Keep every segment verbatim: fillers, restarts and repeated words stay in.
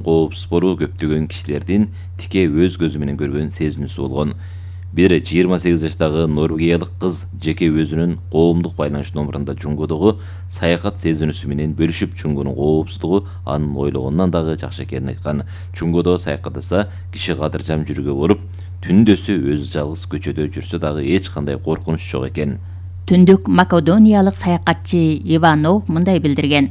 коопсуз болуу көптөгөн кишилердин тике өз көзү менен көргөн сезинүүсү болгон. Бир жыйырма сегиз жаштагы норвегиялык кыз жеке өзүнүн коомдук байланыш номурунда Жунгодогу саякат сезинүүсү менен бөлүшүп, Жунгонун коопсуздугу анын ойлогонунан дагы жакшы экенин айткан. Жунгодо саякаттаса киши кадыржам жүрүүгө болуп, түндөсү өзү жалгыз көчөдө жүрсө дагы эч кандай коркунуч жок экен. Түндүк македониялык саякатчы Иванов мындай билдирген.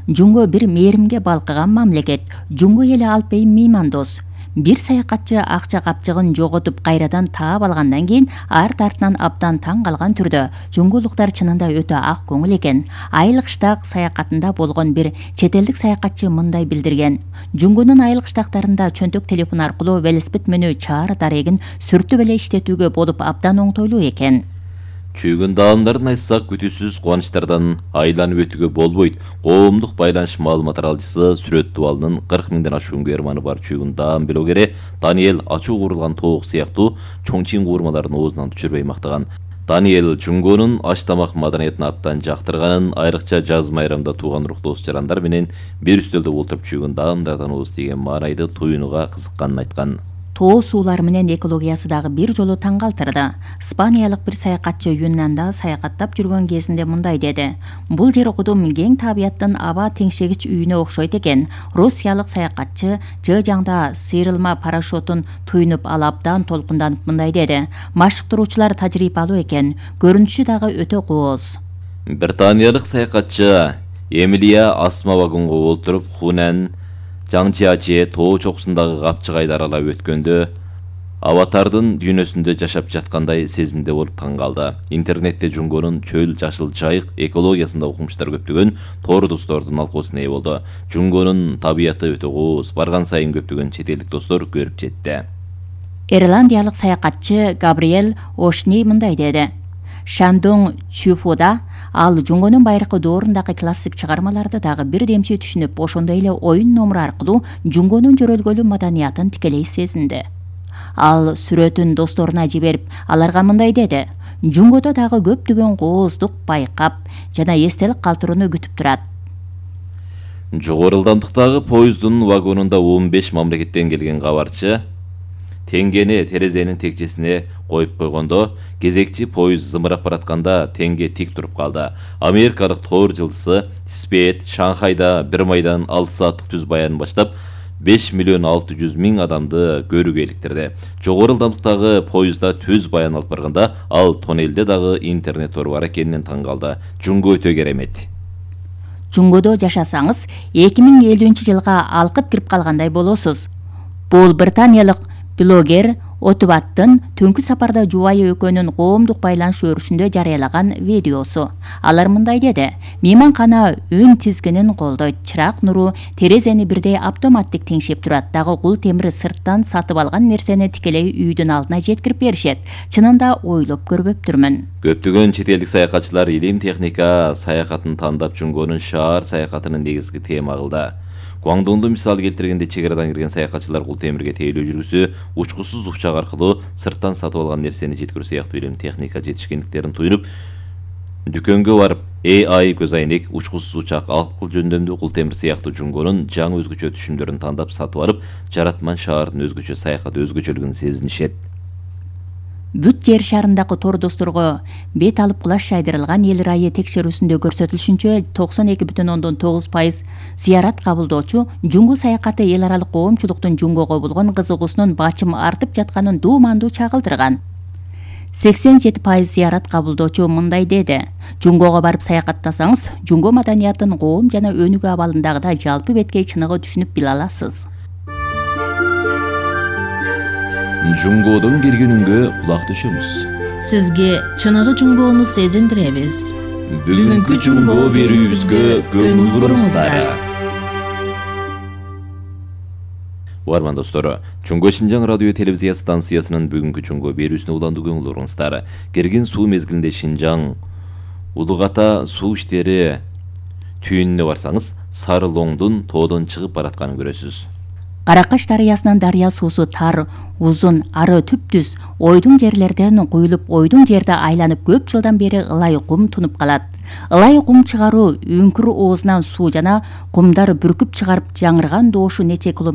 Жунго бир мээримге балкыган мамлекет. Жунго эли алпейим меймандос. Бир саякатчы акча капчыгын жоготуп кайрадан таап алгандан кийин арт артынан абдан таң калган түрдө жунголуктар чынында өтө ак көңүл экен. Айыл кыштак саякатында болгон бир чет элдик саякатчы мындай билдирген. Жунгонун айыл кыштактарында чөнтөк телефон аркылуу велосипед менүү чаар дарегин сүртүп эле иштетүүгө болуп абдан оңтойлуу экен. Чүйгүн даамдарын айтсак, күтүүсүз кубанычтардан айланып өтүүгө болбойт. Коомдук байланыш маалымат таралчысы Сүрөт Дубалынын кырк миңден ашуун көрманы бар чүйгүн даам блогери Даниэль ачуу курулган тоок сыяктуу чоңчиң куурмаларын оозунан түшүрбөй мактаган. Даниэль Жунгонун аш тамак маданиятын абдан жактырганын, айрыкча жаз майрамда тууган урук дос жарандар менен бир үстөлдө отуруп чүйгүн даамдардан ооз тийген маанайды туюнууга кызыкканын айткан. Тоо суулар менен экологиясы дагы бир жолу таң калтырды. Испаниялык бир саякатчы Юннанда саякаттап жүргөн кезинде мындай деди. Бул жер кудум кең табияттын аба теңшегич үйүнө окшойт экен. Россиялык саякатчы жыжаңда сыйрылма парашютун туюнуп ал абдан толкунданып мындай деди. Машыктыруучулар тажрыйбалуу экен. Көрүнүшү дагы өтө кооз. Британиялык саякатчы Эмилия астма вагонго олтуруп Хунан Жаңчиаче тоо чокусундагы капчыгайды аралап өткөндө аватардын дүйнөсүндө жашап жаткандай сезимде болуп таң калды. Интернетте Жунгонун чөл жашыл жайык экологиясында окумуштар көптөгөн тоор достордун алкоосуна ээ болду. Жунгонун табияты өтө кооз, барган сайын көптөгөн чет элдик достор көрүп жетти. Ирландиялык саякатчы Габриэль Ошни мындай деди. Шандон Чуфуда ал Жунгонун байыркы доорундагы классик чыгармаларды дагы бир демчи түшүнүп, ошондой эле оюн номуру аркылуу Жунгонун жөрөлгөлүү маданиятын тикелей сезинди. Ал сүрөтүн досторуна жиберип, аларга мындай деди. Жунгодо дагы көптөгөн кооздук байкап жана эстелик калтырууну күтүп турат. Жогору ылдамдыктагы поезддун вагонунда он беш мамлекеттен келген кабарчы теңгени терезенин текчесине коюп койгондо, кезекчи поезд зымырап баратканда теңге тик туруп калды. Америкалык тоор жылдызы Спейт Шанхайда бир майдан алты сааттык түз баянын баштап беш миллион алты жүз миң адамды көрүүгө иликтирди. Жогору ылдамдыктагы поездда түз баян алып барганда ал тоннелде дагы интернет тору бар экенинен таң калды. Жунго өтө керемет. Жунгодо жашасаңыз эки миң элүүнчү жылга алкып кирип калгандай болосуз. Бул британиялык блогер Отубаттын түнкү сапарда жубайы экөөнүн коомдук байланыш өрүшүндө жарыялаган видеосу. Алар мындай деди. Мейманкана үн тизгинин колдойт. Чырак нуру терезени бирдей автоматтик теңшеп турат. Дагы кул темир сырттан сатып алган нерсени тикелей үйдүн алдына жеткирип беришет. Чынында ойлоп көрбөптүрмүн. Көптөгөн чет элдик саякатчылар илим техника саякатын тандап Жунгонун шаар саякатынын негизги тема кылды. Гуаңдоңду мисал келтиргенде чек арадан кирген саякатчылар кул темирге тейлөө жүргүсү, учкусуз укчак аркылуу сырттан сатып алган нерсени жеткирүү сыяктуу илим техника жетишкендиктерин туюнуп, дүкөнгө барып A I көз айнек, учкусуз учак, алкыл жөндөмдүү кул темир сыяктуу Жунгонун жаңы өзгөчө түшүмдөрүн тандап сатып алып, жаратман шаардын өзгөчө саякат өзгөчөлүгүн сезинишет. Бүт жер шарындагы тор досторго бет алып кулаш жайдырылган эл ырайы текшерүүсүндө көрсөтүлүшүнчө токсон эки бүтүн ондон тогуз пайыз зыярат кабылдоочу Жунгу саякаты эл аралык коомчулуктун Жунгого болгон кызыгуусунун бачым артып жатканын дуумандуу чагылдырган. сексен жети пайыз зыярат кабылдоочу мындай деди. Жунгого барып саякаттасаңыз, Жунго маданиятын коом жана өнүгүү абалындагы жалпы беткей чыныгы түшүнүп биле аласыз. Жунгодон киргенүнгө кулак төшөмүз. Сизге чыныгы Жунгону сезиндиребиз. Бүгүнкү Жунго берүүбүзгө көңүл буруңуздар. Угарман достор, Жунго Шинжаң радио телевизия станциясынын бүгүнкү Жунго берүүсүнө уландуу көңүл буруңуздар. Керген суу мезгилинде Шинжаң Улугата суу иштери түйүнүнө барсаңыз, Сары Лоңдун тоодон чыгып баратканын көрөсүз. Каракаш дарыясынын дарыя суусу тар, узун, ары түптүз, ойдуң жерлерден куюлуп, ойдуң жерде айланып көп жылдан бери ылай кум тунуп калат. Ылай кум чыгаруу үңкүр оозунан суу жана кумдар бүркүп чыгарып жаңырган доошу нече